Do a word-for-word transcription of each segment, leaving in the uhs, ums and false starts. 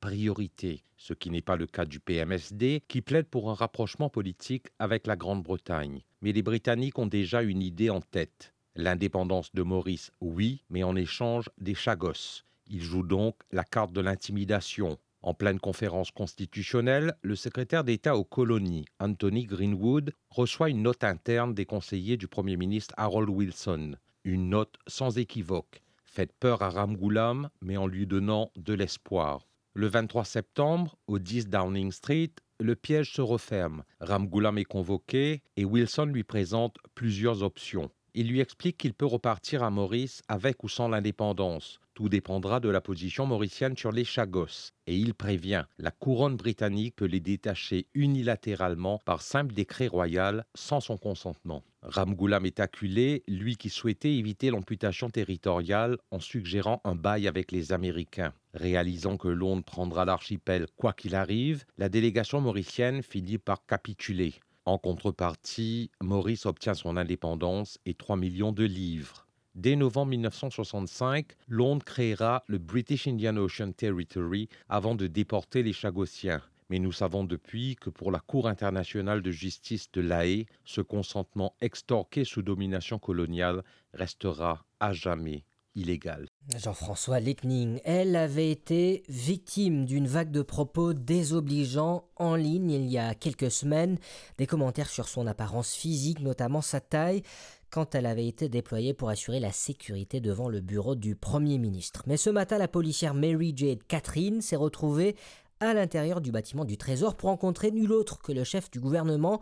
priorité, ce qui n'est pas le cas du P M S D, qui plaide pour un rapprochement politique avec la Grande-Bretagne. Mais les Britanniques ont déjà une idée en tête. L'indépendance de Maurice, oui, mais en échange des Chagos. Il joue donc la carte de l'intimidation. En pleine conférence constitutionnelle, le secrétaire d'État aux colonies, Anthony Greenwood, reçoit une note interne des conseillers du Premier ministre Harold Wilson. Une note sans équivoque. Faites peur à Ramgoolam, mais en lui donnant de l'espoir. Le vingt-trois septembre, au dix Downing Street, le piège se referme. Ramgoolam est convoqué et Wilson lui présente plusieurs options. Il lui explique qu'il peut repartir à Maurice avec ou sans l'indépendance. Tout dépendra de la position mauricienne sur les Chagos. Et il prévient, la couronne britannique peut les détacher unilatéralement par simple décret royal sans son consentement. Ramgoolam est acculé, lui qui souhaitait éviter l'amputation territoriale en suggérant un bail avec les Américains. Réalisant que Londres prendra l'archipel quoi qu'il arrive, la délégation mauricienne finit par capituler. En contrepartie, Maurice obtient son indépendance et trois millions de livres. Dès novembre mille neuf cent soixante-cinq, Londres créera le British Indian Ocean Territory avant de déporter les Chagossiens. Mais nous savons depuis que pour la Cour internationale de justice de La Haye, ce consentement extorqué sous domination coloniale restera à jamais illégal. Jean-François Lickning, elle avait été victime d'une vague de propos désobligeants en ligne il y a quelques semaines, des commentaires sur son apparence physique, notamment sa taille, quand elle avait été déployée pour assurer la sécurité devant le bureau du Premier ministre. Mais ce matin, la policière Mary Jade Catherine s'est retrouvée à l'intérieur du bâtiment du Trésor pour rencontrer nul autre que le chef du gouvernement.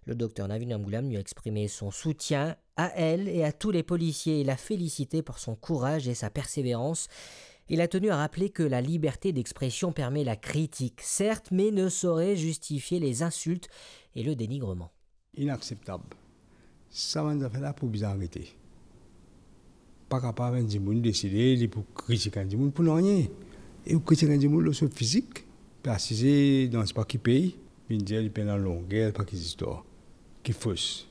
Le docteur Navin Ramgoolam lui a exprimé son soutien à elle et à tous les policiers. Il l'a félicité pour son courage et sa persévérance. Il a tenu à rappeler que la liberté d'expression permet la critique, certes, mais ne saurait justifier les insultes et le dénigrement. Inakseptab. Sa bann zafer la pou bizin arete. Pa kapav enn dimoun deside li pou kritik enn dimoun pou nanye. E ou kritik enn dimoun lor so fizik, pe asize dan sipa ki pei, vinn dir li pena longer, pa ki zistwar, ki fos.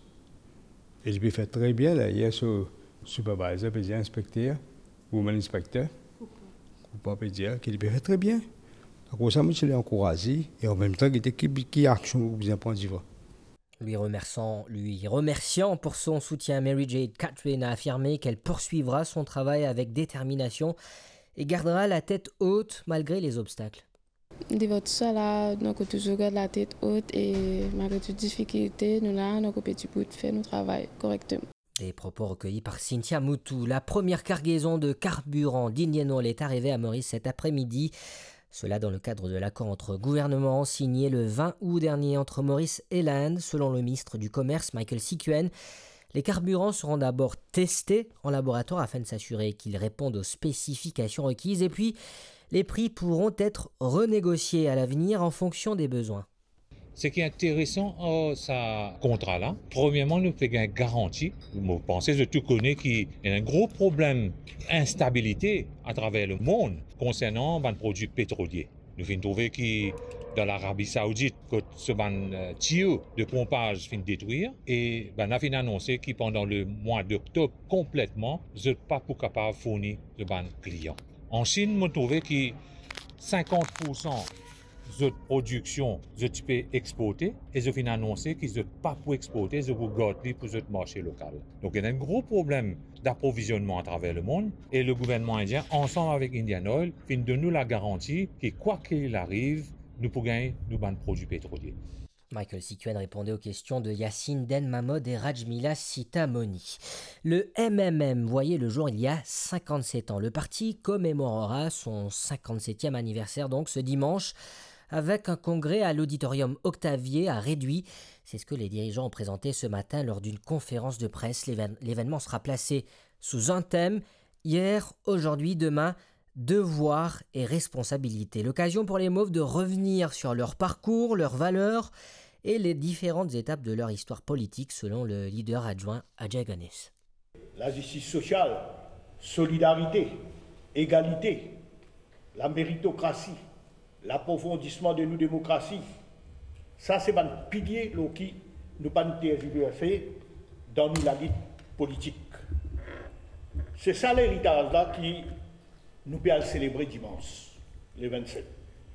E li pe fer tre bien, dayer so supervisor pe dir inspekter, woman inspector, ou pa pe dir ki li pe fer tre bien. Akoz sa, mo ti le ankouraze, e anmemtan, gete ki, ki aksion ou bizin pran divan. Lui remerciant, lui remerciant pour son soutien, Mary Jade Catherine a affirmé qu'elle poursuivra son travail avec détermination et gardera la tête haute malgré les obstacles. Devan tou sa la, donk, ou touzour gard latet ot e malgre tou difikilte, nou la, donk, ou pe dibout fer nou travay korekteman. Des propos recueillis par Cynthia Moutou. La première cargaison de carburant d'Indian Oil est arrivée à Maurice cet après-midi. Cela dans le cadre de l'accord entre gouvernements signé le vingt août dernier entre Maurice et l'Inde, selon le ministre du Commerce, Michael Sikuen. Les carburants seront d'abord testés en laboratoire afin de s'assurer qu'ils répondent aux spécifications requises et puis les prix pourront être renégociés à l'avenir en fonction des besoins. Seki interesan ar sa kontra la, premierman, nou pe gagn garanti. Mo panse zot tou kone ki ena enn gro problem instabilite atraver lemond konsernan bann prodwi petrolie. Nou finn trouve ki dan Larabi Saoudit, kot so bann, eh, tiyo de ponpaz finn detrir, e bann la finn anonse ki pandan lemwa doktob konpletman, zot pa pou kapav fourni zot bann klian. An Sinn, mo trouve ki sinkant poursan zot prodiksion, zot ti pe exporte, e zot finn anonse ki zot pa pou exporte, zot pou gard li pou zot marse lokal. Donk, ena enn gro problem daprovizionman atraver lemond, e le gouvernman indien, ansam avek Indian Oil, finn donn nou lagaranti ki, kwa ki arive, nou pou gagn nou bann prodwi petrolie. Michael Sikuen répondait aux questions de Yacine Den Mahmood et Rajmila Sitamonie. Le M M M voyait le jour il y a cinquante-sept ans. Le parti commémorera son cinquante-septième anniversaire donc ce dimanche avec un congrès à l'auditorium Octavier à Réduit. C'est ce que les dirigeants ont présenté ce matin lors d'une conférence de presse. L'évén-, l'événement sera placé sous un thème : hier, aujourd'hui, demain, devoir et responsabilité. L'occasion pour les Mauves de revenir sur leur parcours, leurs valeurs et les différentes étapes de leur histoire politique, selon le leader adjoint Ajay Ganesh. La zistis sosial, solidarite, egalite, la meritokrasi, laprofondisman de nou demokrasi, sa se bann pilie lor ki nou pa'nn terziverse dan nou lalit politik. Se sa leritaz la ki nou pe al selebre dimans, le vennset.